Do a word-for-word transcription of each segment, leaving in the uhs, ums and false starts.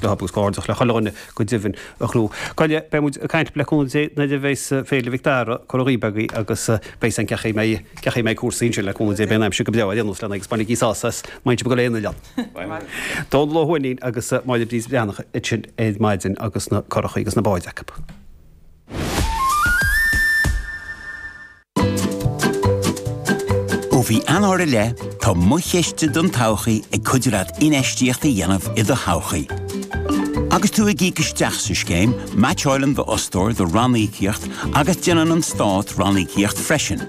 leo agus comhghairdeachas le chuile dhuine go deimhin a ghnó. Goile, beidh muid ag caint le cúnamh Dé nuair a bheas Féile Mhic Dara curtha dhaoibh agaibh agus beidh san cén chaoi a mbeidh cén chaoi a mbeidh cúrsaí ansin le cúnamh Dé beidh an aimsir go breá ar aon nós lena agus bainigí sásamh as má bhíonn sibh ag dul aon oileán. Dónal Ó hUaithnín agus Máire Bríd Bhreathnach ansin ar maidin agus na curachaí agus na báid acu. Ó mhí Eanáir i leith, tá Mo Chiste don Todhchaí ag cuidiú leat infheistíocht a dhéanamh i do thodhchaí. Agus tú ag íoc isteach sa scéim, meaitseálann d'fhostóir do ranníocaíocht agus déanann an Stát ranníocaíocht freisin.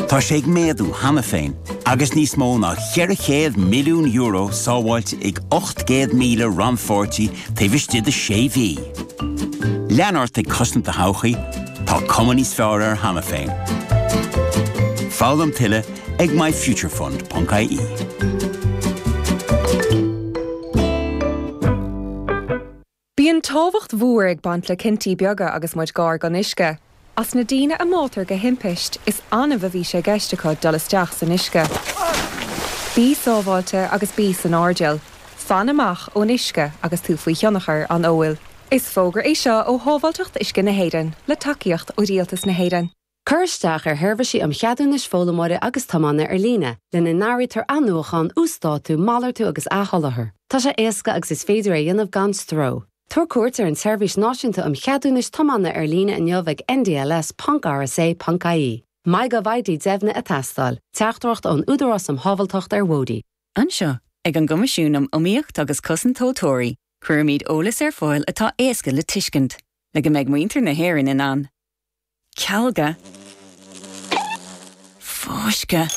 Tá sé ag méadú cheana féin, agus níos mó ná ceithre chéad milliún euro sábháilte ag ocht gcéad míle rannpháirtí taobh istigh de sé mhí. Lean ort ag cosaint do thodhchaí, tá cuma níos fearr air cheana féin. Foghlaim tuilleadh ag myfuturefund.ie. Bíonn tábhacht mhór ag baint le cinntí beaga agus muid gar don uisce. As na daoine a mbáitear de thimpiste, is annamh a bhí sé i gceist acu dul isteach san uisce. Bí sábháilte agus bí san airdeall. Fan amach ón uisce agus tú faoi thionchar an óil. Is fógra é seo ó Shábháilteacht Uisce na hÉireann, le tacaíocht ó Rialtas na hÉireann. Cuir isteach ar sheirbhísí um cheadúnais foghlaimeora agus tiomána ar líne, lena n-áirítear athnuachan, uasdátú, malartú agus athsholáthar. Tá sé éasca agus is féidir é a dhéanamh gan stró. Tabhair cuairt ar an tSeirbhís Náisiúnta um Cheadúnais Tiomána ar líne inniu ag ndls.rsa.ie. MyGovID deimhnithe ag teastáil. Teachtaireacht ón Údarás um Shábháilteacht ar Bhóithre. Anseo, ag an gCoimisiún um Iomaíocht agus Cosaint Tomhaltóirí, cuirimid eolas ar fáil atá éasca le tuiscint, le go mbeidh muintir na hÉireann in ann cealga, fáisceadh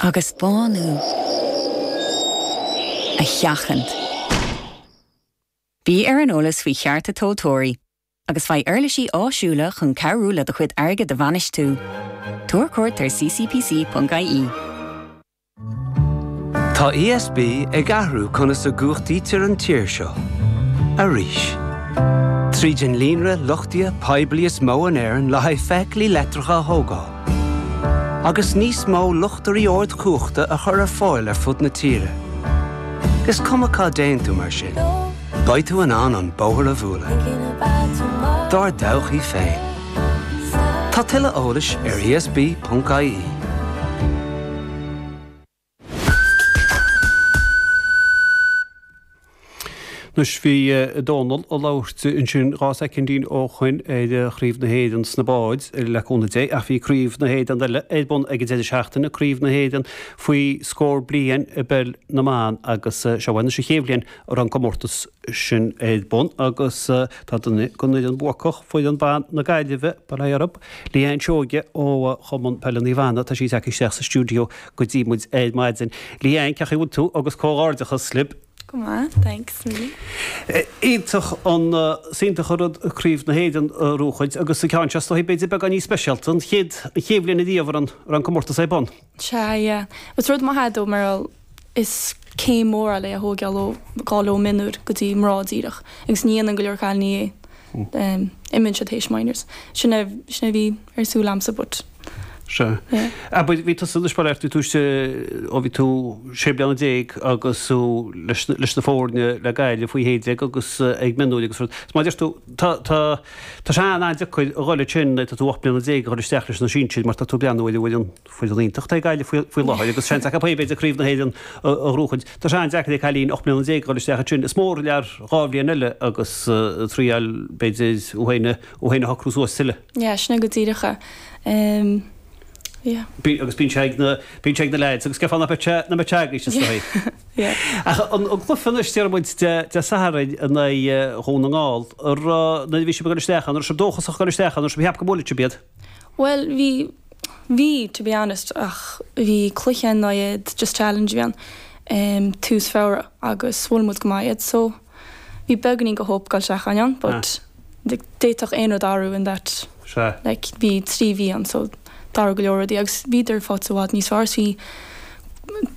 agus bánú a sheachaint. Bí ar an eolas faoi chearta tomhaltóirí agus faigh uirlisí áisiúla chun cabhrú le do chuid airgid a bhainistiú. Tabhair cuairt ar ccpc.ie. Tá ESB ag athrú conas a gcumhachtaítear an tír seo. Arís. Tríd an líonra luchtaithe poiblí is mó in Éirinn le haghaidh feithiclí leictreacha a thógáil. Agus níos mó luchtairí ardchumhachta a chur ar fáil ar fud na tíre. Is cuma cá dtéann tú mar sin. Beidh tú in ann an bóthar a bhualadh. Dár dtodhchaí féin. Tá tuilleadh eolais ar ESB.ie. Anois bhí Dónal ag labhairt ansin dhá soicindín ó shoin ar Chraobh na hÉireann sna báid le cúnamh Dé ach bhí Craobh na hÉireann eile ar bun ag an deireadh seachtaine, Craobh na hÉireann faoi scór bliain i bpeil na mban agus seo anois an chéad bhliain a raibh an comórtas sin ar bun agus tá duine den fhoireann buacach, foireann ban na Gaillimhe, bail ó Dhia orthu, Leanne Seoige ó Chumann Peile Naomh Anna, tá sí tagtha isteach sa stiúideo go dtí muid ar maidin. Leanne, cén chaoi a bhfuil tú agus comhghairdeachas libh. Go maith, thanks. Iontach an, is iontach an rud Craobh na hÉireann a bhuachaint agus an ceann seo is dóigh b'fhéidir beagán níos speisialta, an chéad, an chéad bhliain ariamh a raibh an, an comórtas ar bun. Sea, yeah. Is rud maith é though mar is céim mhór é a thógáil ó ghabháil ó mionúir go dtí mná díreach agus ní dhéanann go leor cailíní é. Imíonn siad théis minors. Sin é, sin é a bhí ar siúl a'msa but. Sea. Abair, bhí tusa anois, bail ó Dhia ort, bhí tú istigh ó bhí tú sé bliana déag agus tú leis, leis na foirne le Gaillimh faoi shé déag agus ag mionúir agus rud. Is mar a deir tú, tá, tá, tá sé an-an-deacair a dhul ansin nuair atá tú ocht mbliana déag a dhul isteach leis na sinsir mar tá tú ag breathnú ar an bhfoireann, foireann iontach atá ag Gaillimh faoi, faoi láthair agus seans acu b'fhéidir Craobh na hÉireann a, a ghnóchaint. Tá sé an-deacair ag cailín ocht mbliana déag a dhul isteach ansin. Is mór an lear dhá bhliain eile agus triail b'fhéidir thú féin a, thú féin a shocrú suas tuilleadh. Yeah, sin é go díreach é. Um, yeah. Bí, agus bíonn sé ag na, bíonn sé ag na lads agus cén fáth nach mbeadh sé, nach mbeadh sé agaibhse is dóigh. Yeah. Ach an, an cluiche anois déarfaidh muid Dé, Dé Sathairn in aghaidh Dhún na nGall, an raibh, nuair a bhí sibh ag dul isteach ann, an raibh sibh dóchasach ag dul isteach ann, an raibh sibh ag ceapadh go mbuailfeadh sibh iad? Bhuel, bhí, bhí, to be honest, ach bhí cluiche in aghaidh iad, just challenge a bhí ann, um, tús Feabhra agus bhuail muid go maith iad, so bhí beagáinín de hope ag dul isteach ann, but d'fhéadfadh aon rud athrú in that Sea. like bhí trí mhí ann so d'athraigh go leor rudaí agus bhíodar fós i bhfad níos fearr is bhí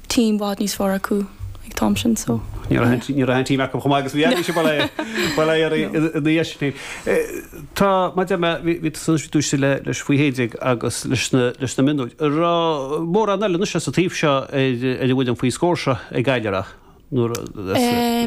team i bhfad níos fearr acu ag an t-am sin so Ní raibh ní raibh an team acu chomh maith agus bhí agaibhse bail ó bail ó Dhia oraibh ina dhiaidh sin. Tá mar a deir mé bhí bhí tusa anois bhí tú istigh le leis faoi shé déag agus leis na leis na mionúir. An raibh mórán eile anois sa taobh seo ar ar an bhfoireann faoi scór seo ag Gaillimh an raibh? Nuair a Um